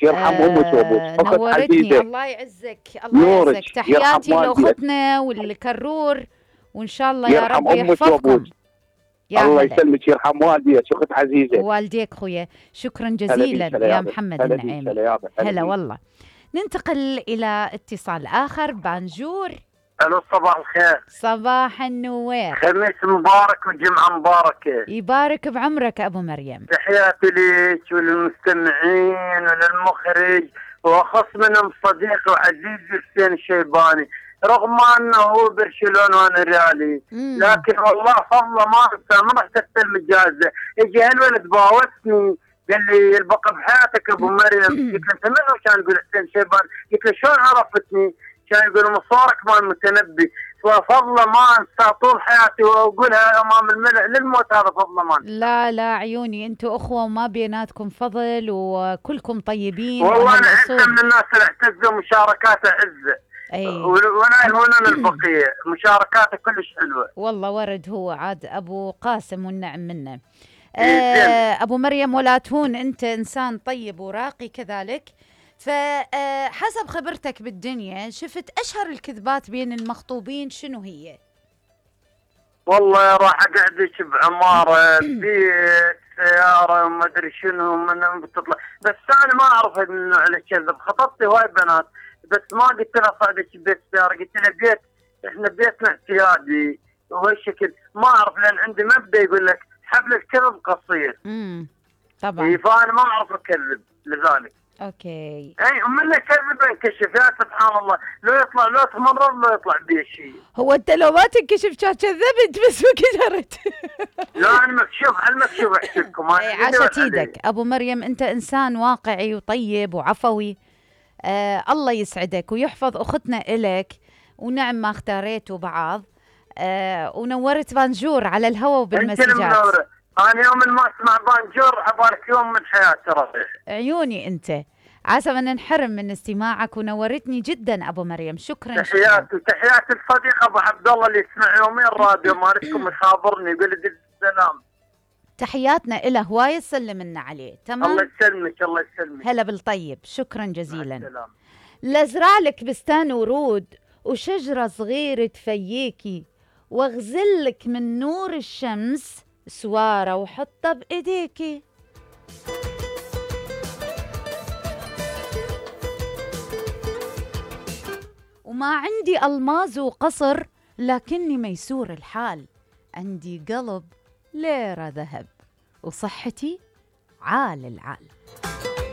يرحم امك وابوك اخت نورتني. عزيزه. الله يعزك، الله يعزك. نورك يرحم تحياتي والديك. لاختنا والكرور، وان شاء الله يا يرحم رب امك يحفظكم. وابوك. يا الله هلا. يسلمك، يرحم والديك اخت عزيزه. والديك خويا، شكرا هلا جزيلا بيك، هلا يا يابا. محمد هلا بيك، النعيمي. هلا يابا. هلا بيك. والله. ننتقل الى اتصال اخر. بانجور. الو صباح الخير. صباح النوير. خميس مبارك وجمعه مباركه. يبارك بعمرك ابو مريم. تحياتي لك وللمستمعين وللمخرج، واخص منهم صديقي وعزيزي حسين الشيباني، رغم انه هو برشلونه وانا ريالي، لكن والله فضله ما انسى. ما رحت استلم الجائزه، اجى هالولد باوسني قال لي البقى بحياتك ابو مريم. قلت له انت منو؟ كان يقول حسين الشيباني. قلت له شلون عرفتني؟ كان يقول مصورك مال المتنبي. فضله ما انسى طول حياتي، واقولها امام الملأ للموت، هذا فضله ما انسى. لا لا عيوني، انتوا اخوه وما بيناتكم فضل، وكلكم طيبين. والله انا عزه من الناس اللي اعتزوا مشاركاته عزه. اي وانا هنا البقيه مشاركاته كلش حلوه. والله ورد هو عاد ابو قاسم والنعم منه. ابو مريم ولا تهون، انت انسان طيب وراقي كذلك. فحسب خبرتك بالدنيا، شفت اشهر الكذبات بين المخطوبين شنو هي؟ والله راح اقعدك بعماره بيت سياره وما ادري شنو من بتطلع، بس انا ما اعرف هذا النوع الكذب. خطبتي هواي بنات بس ما قلت لها صعدك بيت سياره، قلت لها بيت احنا بيتنا اعتيادي وهالشكل. ما اعرف لان عندي مبدا يقول لك حبل الكذب قصير. طبعا. فانا ما اعرف اكذب لذلك. اوكي. اي ومن كذب انكشف. يا سبحان الله، لو يطلع لو تمرض لو يطلع بيه شيء. هو انت لو ما تنكشف كان كذبت بس ما قدرت. لا انا مكشوف على المكشوف احكيلكم. عاشت ايدك ابو مريم، انت انسان واقعي وطيب وعفوي. الله يسعدك ويحفظ اختنا الك، ونعم ما اختاريتوا بعض. ونورت بانجور على الهواء وبالمسجات. انت منوره. انا يوم ما اسمع بانجور عبالك يوم من حياتي ربيع. عيوني انت، عسى ما ننحرم من استماعك، ونورتني جدا ابو مريم. شكرا. تحياتي الصديق ابو عبد الله اللي يسمع يومين الراديو مالكم يخابرني يقول لي السلام. تحياتنا له، هواي تسلم لنا عليه. تمام. الله يسلمك الله يسلمك. هلا بالطيب، شكرا جزيلا. السلام. لازرع لك بستان ورود وشجره صغيره تفييكي، واغزلك من نور الشمس سواره وحطها بايديكي. وما عندي الماظ وقصر، لكني ميسور الحال. عندي قلب ليرة ذهب، وصحتي عال العال.